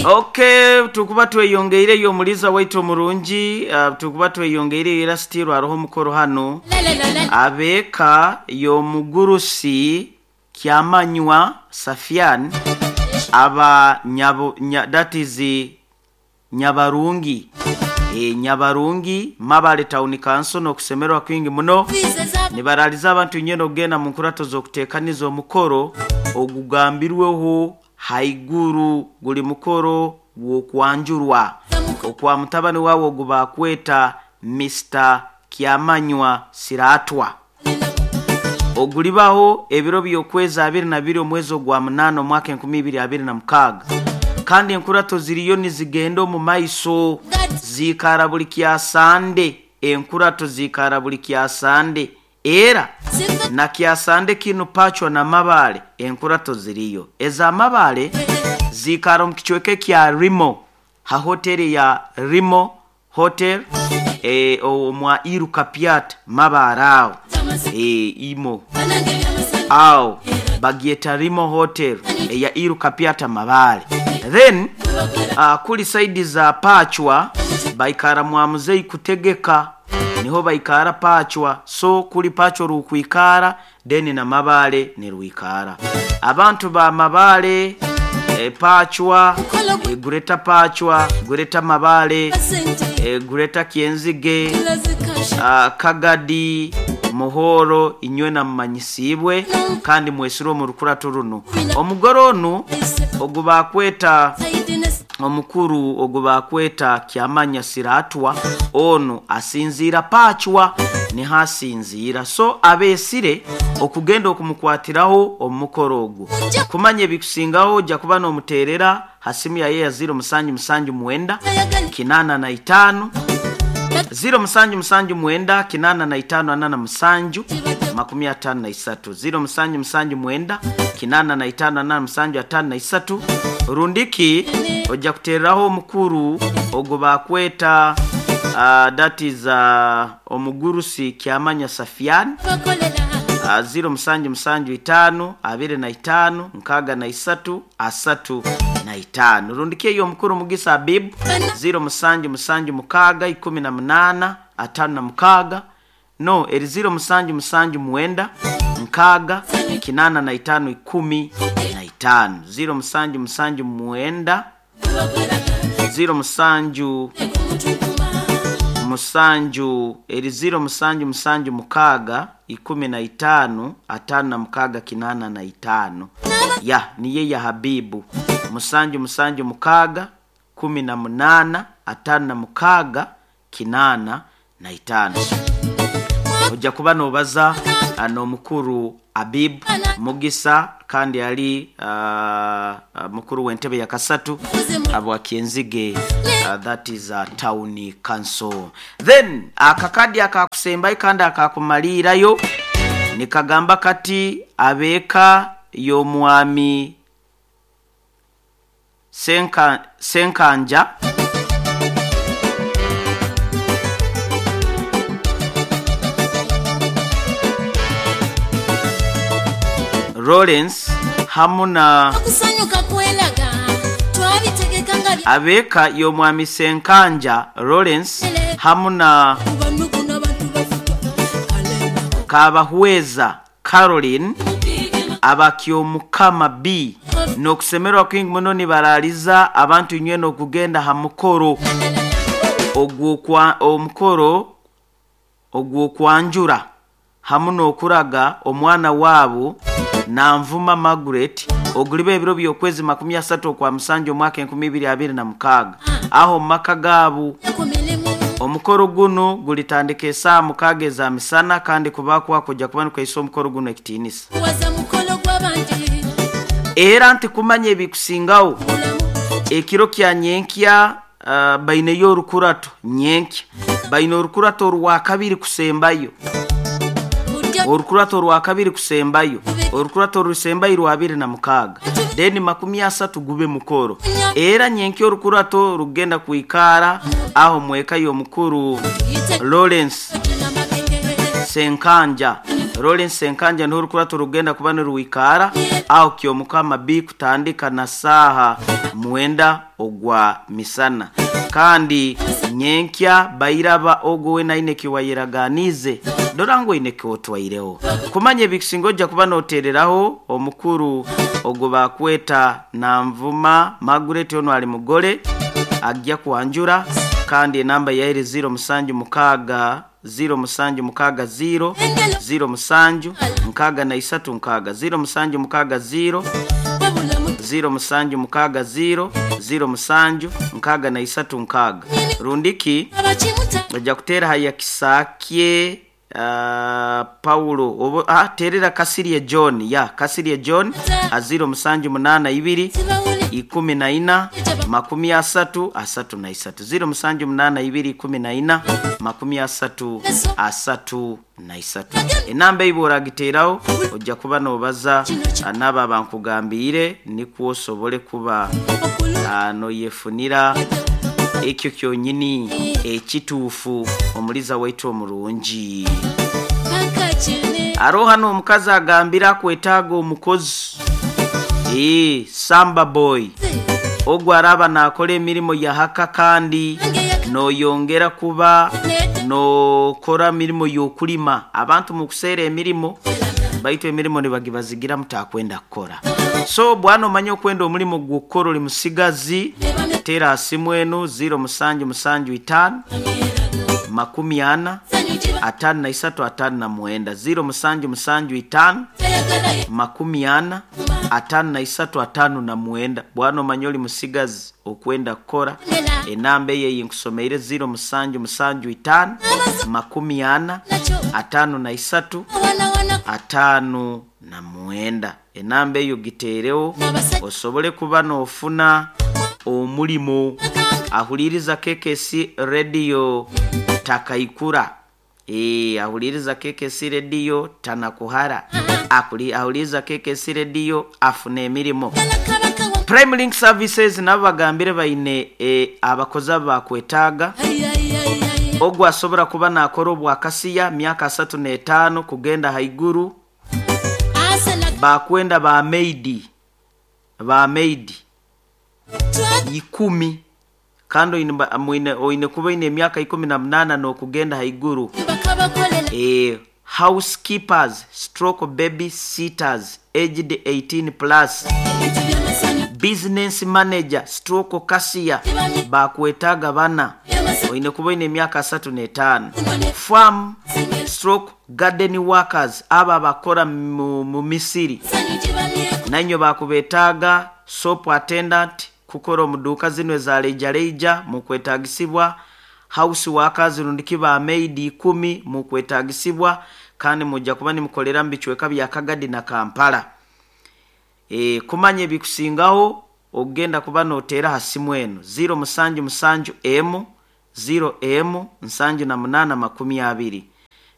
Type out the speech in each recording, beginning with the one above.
Okay, tukuba tweyongeireyo omuliza waitu omurungi, tukuba tweyongeireyo era still haroho omukoro hanu. Abeeka y'omugurusi Kyamanywa Safian aba nyabo, nya, that is Nyabarungi, Nyabarungi Mabale Town Council n'okusemererwa kwingi muno nibaraliza abantu nyena okugenda mu nkurato z'okuteekaniza omukoro ogugambirweho haiguru. Guli mukoro gw'okwanjurwa okwa mutabani wawe ogu bakweta Mr. Kyamanywa Siratwa, ogulibaho ebiro by'okwezi 22 omwezi ogwa 8 omwaka 2026. Kandi enkurato ziriyo nizigenda omu maiso, ziikara buli kyasande. Enkurato ziikara buli kyasande, era na kyasande kinu Pachwa na Mabale enkurato ziriyo. Ez'Amabale ziikara omu kicweka ekya Rimo, ha hoteri ya Rimo Hotel, omwa Iruka Piat Mabale aho, imo aho bagyeta Rimo Hotel eya Iruka Piata Mabale. Then kuli saidi za Pachwa baikara mwa muzei kutegeka, niho baikara Pachwa. So kuli Pachwa rukwikara, then na Mabale nirwikara. Abantu ba Mabale, Pachwa, Greater Pachwa, Greater Mabale, Greater Kyenzige, Kagadi, Muhoro, inywe na mumanyisibwe kandi mwesire omu rukurato runo. Omugore onu ogu bakweta omukuru ogu bakweta Kyamanya Siratwa, onu asinziira Pachwa, niho asinziira. So abeesire okugenda okumukwatiraho omukoro ogwo. Kumanya ebikusingaho ojja kuba n'omuteerera ha simu yaye ya 0779 85 0779 85 47 53, 0779 85 47 53. Rundiki ojja kutereraho omukuru ogwo bakweta, that is omugurusi Kyamanya Safian, 0775 25 63 35. Rundiki eyo omukuru Mugisa Abibu, 0776 18 56, no eri 0779 6 85 15, 0779 07 musanju eri 0776 15 56 85. Ya niye ya Habibu, 776 18 56 85. Ojja kuba nobaza n'omukuru Abib Mugisa, kandi ali mukuru w'entebe ya kasatu abwa Kyenzige, that is town council. Then akakadi akakusembayo kandi akakumaliirayo nikagamba kati abeeka y'omwami Senkanja Lawrence hamu na Okusanyuka kwelaga twabitegeka nga abeeka y'omwami Senkanja Lawrence hamu na Kubanugu n'abantu bafuka kalemba. Kabahweza Caroline abakyomukama B n'okusemererwa kwingi muno nibaraliza abantu inywe n'okugenda ha mukoro omukoro ogw'okwanjura hamu n'okuraga omwana waabo Nanvuma Margaret, oguliba ebiro by'okwezi 30 okwa musanju omwaka 2026 aho mu maka gaabo. Omukoro guno gulitandika esaaha 6 eza misana, kandi kuba kujja kuba nikuhaisa omukoro guno ekitiinisa. Era nti kumanya ebikusingaho ekiro kya nyenkya, baineyo orukurato nyenkya, baine orukurato orwakabiri kusembayo, orukurato orwakabiri kusembayo, orukurato orusembayo rwa 26, then 30 gube mukoro. Era nyenkya orukurato rugenda kwikara aho mweka y'omukuru Lawrence Senkanja. Lawrence Senkanja niho orukurato rugenda kuba niruikara aho Kyomukama B kutandika na saaha 9 ogwa misana. Kandi nyenkya bairaba ogwo we naine kiwayeraganize dora ngo ine kiwotwaireho kumanya ebikisingoja kuba notereraho omukuru ogwo bakweta na nvuma Margaret ono ali mugole ajja kuanjura. Kandi enamba yaire 0 musanju mukaga 0 musanju mukaga 0 0 musanju nkaga na isatu nkaga 0 musanju mukaga 0 0 musanju mukaga 0 0 musanju nkaga na isatu nkaga. Rundiki ojja kutera haya Kisakye Paulo obo terera Kasirye John ya Kasirye John a 0 musanju munana ibiri ikumi na ina makumi asatu asatu na isatu 0 musanju munana ibiri ikumi na ina makumi asatu asatu na isatu. Enamba ibora giteraho ojja kuba nobaza anaba bankugambire nikwo osobole kuba no yefunira ekyo kyonyini ekituufu omuliza waitu omurungi. Aroha no omukazi agambira kwetaaga omukozi samba boy ogwo araba nakola emirimu ya haka kandi noyongera kuba nokora mirimo y'okulima. Abantu mukuseera emirimu baitu emirimu nibagibazigira mutakwenda kukora. So bwana omanye okwenda omulimu gw'okukora oli musigazi, tera simu enu 0 musanju musanju itano makumi ana atano na isatu atano na mwenda 0 musanju musanju itano makumi ana atano na isatu atano na mwenda. Bwana omanye oli musigazi okwenda kukora. Enamba eye nkusomeire 0 musanju musanju itano makumi ana atano na isatu atano na mwenda. Enamba eyo giteerewo osobole kuba n'ofuna omulimo. Ahuliriza KKC Radio takaikura. Ahuliriza KKC Radio tanakuhara. Ahuliriza KKC Radio afune emirimo. Prime Link Services nabo bagambire baine abakozi bakwetaaga. Ogwo asobora kuba nakora obwakasiya myaka 35 kugenda haiguru. Bakwenda ba maid 10 kandi oine kuba ine emyaka 18 n'okugenda haiguru. Housekeepers stroke baby sitters aged 18 plus, business manager stroke cashier bakwetaaga bana oine kuba ine emyaka 35. Farm stroke garden workers aba bakora mu misiri nanyo bakubetaaga. Soap attendant kukora omuduka zino eza leija mukwetagisibwa. House workers rundiki ba maid 10 mukwetagisibwa kandi mujja kuba nimukolera mbichweka bya Kagadi na Kampala. Kumanye bikusingaho ogenda kuba notera hasimu eno 0 musanju musanju m 0 m nsanju na munana makumi abiri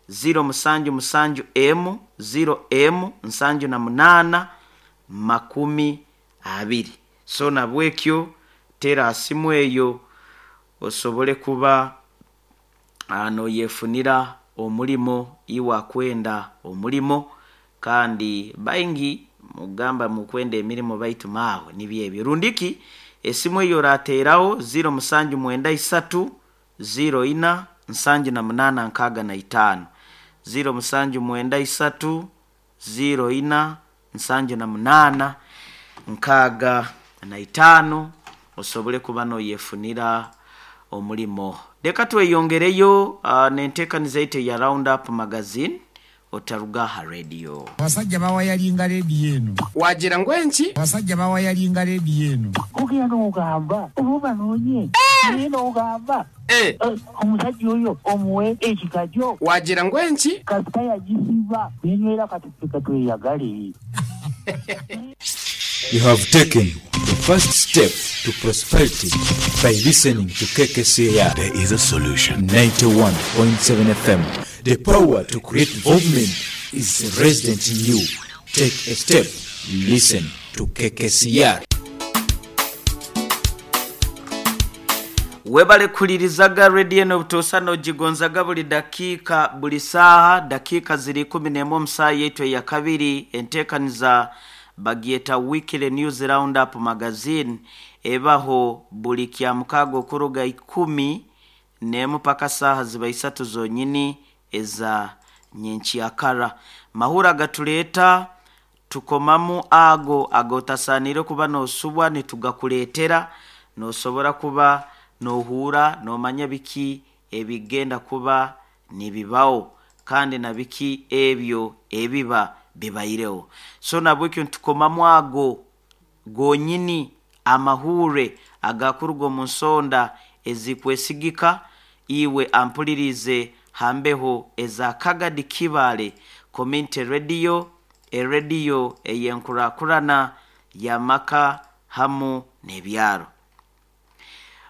0 musanju musanju m 0 m nsanju na munana makumi abiri. So nabwekyo tera asimu eyo osobole kuba ano yefunira omulimo iwa kwenda omulimo. Kandi baingi mugamba mukwenda emirimo baitu mawe nibyebyo. Rundiki esimu eyo rateraho 0 musanju mwenda isatu 0 ina nsanju na munana nkaga na itano 0 musanju mwenda isatu 0 ina nsanju na munana nkaga na itano osobole kuba no yefunira omulimo. Leka tweyongereyo nentekaniza ite ya Round Up Magazine otarugaha radio. Abasajja bawayalinga radio eno. Wagira ngo enki? Abasajja bawayalinga radio eno. Ogenda n'ogamba oba noonye. Naye n'ogamba omusajja oyo omuwe ekikajjo. Wagira ngo enki? Kasita yagisiba nenywera kati ffe tweyagale. You have taken the first step to prosperity by listening to KKCR. There is a solution. 91.7 FM. The power to create movement is resident in you. Take a step. Listen to KKCR. Webale kulirizaga rediyo n'obutuusa n'ogigonzaga buli dakiika, buli saaha. Dakiika ziri 11 omu saaha yaitu eyakabiri. Enteekaniza bagyeta Weekly News Roundup Magazine, ebaho buli kya mukaaga okuruga 11 paka saaha ziba 3 zonyini eza nyenkyakara. Mahura gatuleeta tukomamu ago agotasaaniire kuba noosubwa, nitugakuleetera noosobora kuba noohuura noomanya biki ebigenda kuba nibibaho kandi na biki ebyo ebiba bibaireho. So nabwekyo nitukomamu ago gonyini amahuure agakuruga omu nsonda ezikwesigika. Iwe ampulirize hambeho eza Kagadi Kibaale Community Radio, erediyo ey'enkurakurana y'amaka hamu n'ebyaro.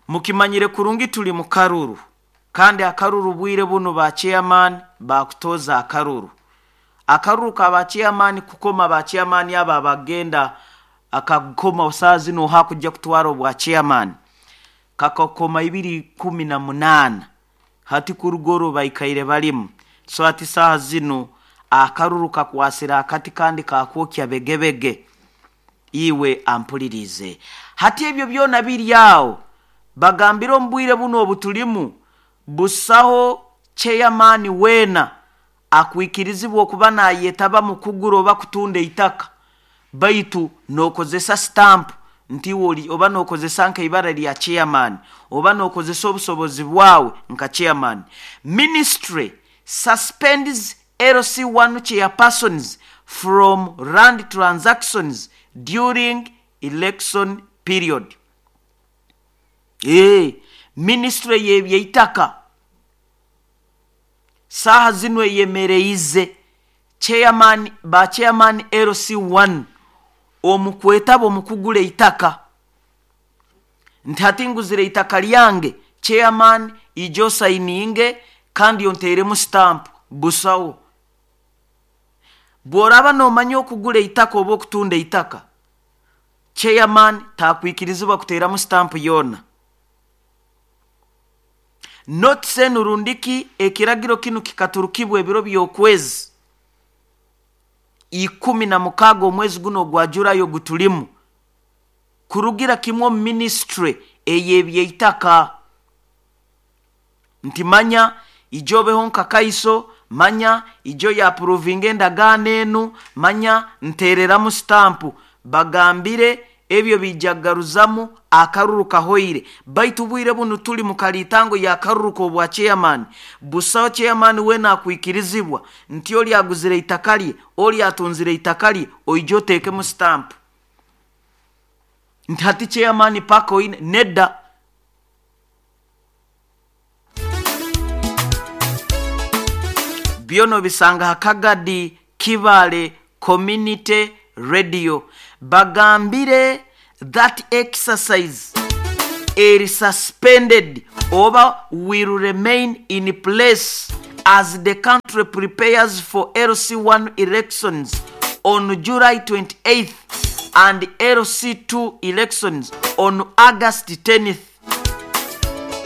Mukimanyire kurungi tuli mu karuru, kandi akaruru bwire bunu ba chairman bakutoza akaruru. Akaruru ka ba chairman kukoma ba chairman abo abagenda akakoma saa zino hakujja kutwara obwa chairman kakakoma 2018 hati kurugoro baikaire balimu. So hati saaha zino akaruru kakwasira akati kandi kakwokya begebege. Iwe ampulirize hati ebyo byona biri awo, bagambire omu bwire buno obutulimu busaho chairman weena akwikirizibwa okuba nayetaba mu kugura oba kutunda eitaka, baitu nokozesa stamp nti oli oba nokozesa nka ibara lya chairman oba nokozesa obusobozi bwawe nka chairman. Ministry suspends LC1 chairpersons from land transactions during election period. Ministry y'ebyeitaka saaha zino eyemereize chairman ba chairman LC1 omukwetaba omukugula eitaka, nti hati nguzire eitaka lyange chairman ijo sayininge kandi onteeremu stamp. Busawo. Bw'oraba noomanya okugula eitaka oba okutunda eitaka, chairman takwikirizibwa kuteeramu stamp yoona. Notice enu rundiki ekiragiro kinu kikaturukibwa ebiro by'okwezi 16 omwezi guno ogwa Julayi ogutulimu, kurugira kimwe omu ministry ey'ebyeitaka. Nti manya ijo obeho nka kaiso, manya ijo yapuruvinga endagaano enu, manya nteereramu stampu. Bagambire ebyo bijagaruzamu akaruru kahoire. Baitu bwire bunu tuli mu kalitango ya karuru k'obwa chairman. Busaho chairman weena akwikirizibwa nti oli aguzire eitaka lye, oli atunzire eitaka lye, oije oteekemu stamp nti hati chairman paka oine nedda. Byona obisanga ha Kagadi Kibaale Community Radio. Bagambire that exercise is suspended oba will remain in place as the country prepares for LC1 elections on July 28th and LC2 elections on August 10th.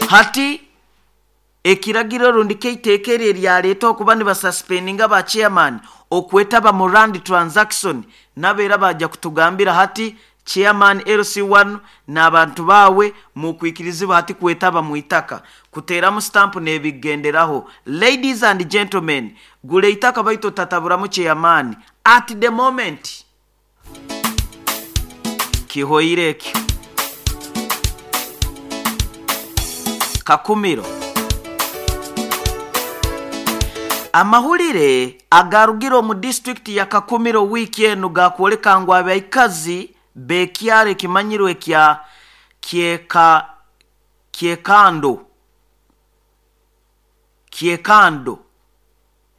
Hati ekiragiro rundi keiteeka eryo eryaleeta okuba nibasuspendinga ba chairman okwetaba mu land transaction, nabeera bajja kutugambira hati chairman LC1 n'abantu baawe mukwikirizibwa hati kwetaba mu itaka kuteeramu stamp n'ebigenderaho. Ladies and gentlemen, gula eitaka baitu otataburamu chairman at the moment. Kihoire ekyo. Kakumiro. Amahulire agarugire omu disitulikiti ya Kakumiro wiiki enu gakwoleka ngu abaikazi b'ekyaro ekimanyirwe kya Kyekando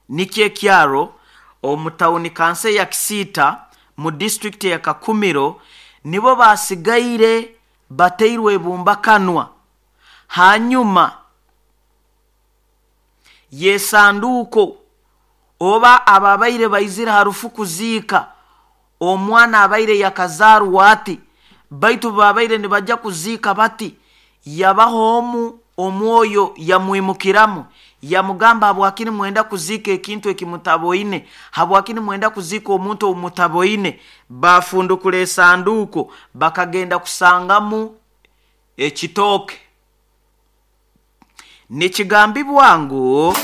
nikyo ekyaro omu tawuni kansa ya Kisiita mu disitulikiti ya Kakumiro nibo basigaire bateirwe ebumbakanwa hanyuma y'esanduuko oba ababaire baizire ha rufu kuziika omwana abaire yakazaarwa ati, baitu babaire nibajja kuziika bati Yabaho omu omwoyo yamwimukiramu, yamugamba, habwakini mwenda kuziika ekintu ekimutaboine? Habwakini mwenda kuziika omuntu omutaboine? Bafundukura esanduuko, bakagenda kusangamu ekitooke. Nikigambibwa ngu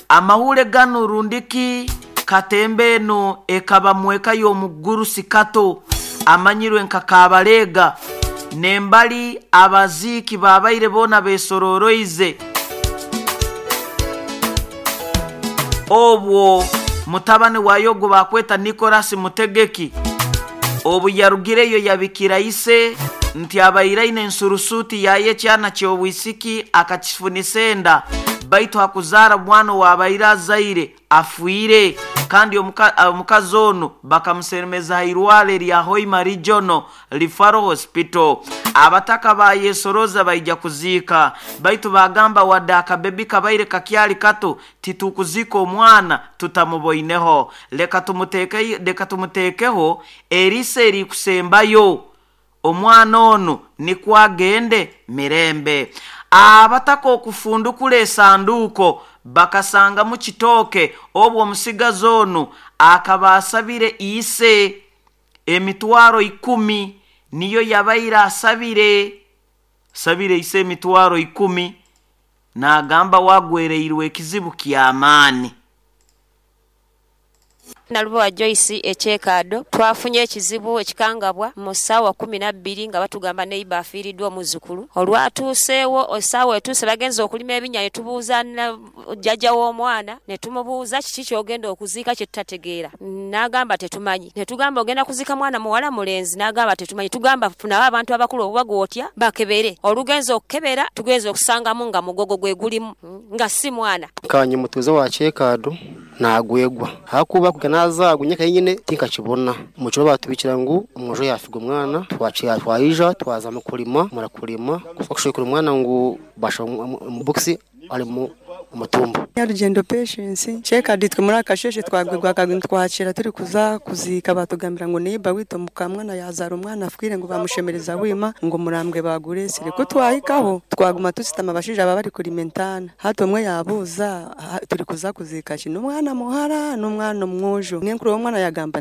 amahule ganu rundiki katemba eno ekaba mweka y'omugurusi Kato amanyirwe nka Kabalega, nembali abaziiki babaire boona besororoize. Obwo mutabani wa yogo bakweta Nicolas Mutegeki, obu yarugireyo yabikira ise nti abaire aine ensurusuuti yaye ekyana ky'obwisiki akakifunisa enda, baitu hakuzaara mwana owabaire azaire afiire. Kandi omukazi onu bakamusemeza ha irwaro erya Hoima Regional Referral Hospital. Abataka bayesoroza baija kuziika, baitu bagamba wadde akabebi kabaire kakyali kato, titukuziika omwana tutamuboineho, leka tumuteekeho eriso erikusembayo, omwana onu nikwo agende mirembe. Abataka okufundukura esanduuko bakasangamu kitooke. Obwo omusigazi onu akaba asabire ise emitwaro 10, niyo yabaire asabire ise emitwaro 10, n'agamba wagwereirwe ekizibu ky'amaani. Nalubowa Joyce ekyekaado twafunye ekizibu ekikangabwa mu ssaawa 12 nga batugamba neiba afiiriddwa omuzukulu. Olwatuuseewo essaawa etuuse bagenze okulima ebinya ne tubuuza jjajja w'omwana ne tumubuuza kiki ky'ogenda okuziika kye tutategeera, n'agamba tetumanyi. Ne tugamba ogenda kuziika mwana muwala mulenzi, n'agamba tetumanyi. Tugamba funawo abantu abakulu oba gw'otya bakebere. Olugenze okukebera tugenze okusangamu nga mugogo gwe gulimu nga si mwana. Kanye mutuuze wa kyekaado nagwegwa hakuba kuga nazagu nyaka nyine tinkakibona mucyo batubikira ngu omwojo yafiga omwana twaija twaza mu kulima murakulima kushekura omwana ngu basha mu box ali mu mutumba. Nyarugendo Patience Kyekadi, twe muri akasheshe twagwegwa twakira turi kuza kuzika, batugambira ngo neiba wito mukamwana yazara omwana afwire, ngo bamushemereza wima ngo murambwe baguresire. Ko twahikaho twaguma tusitama, abashija baba bari kurimentana hato omwe yabuza, turi kuza kuzika kino, omwana muhara n'omwana omwojo? Nenkuru w'omwana yagamba.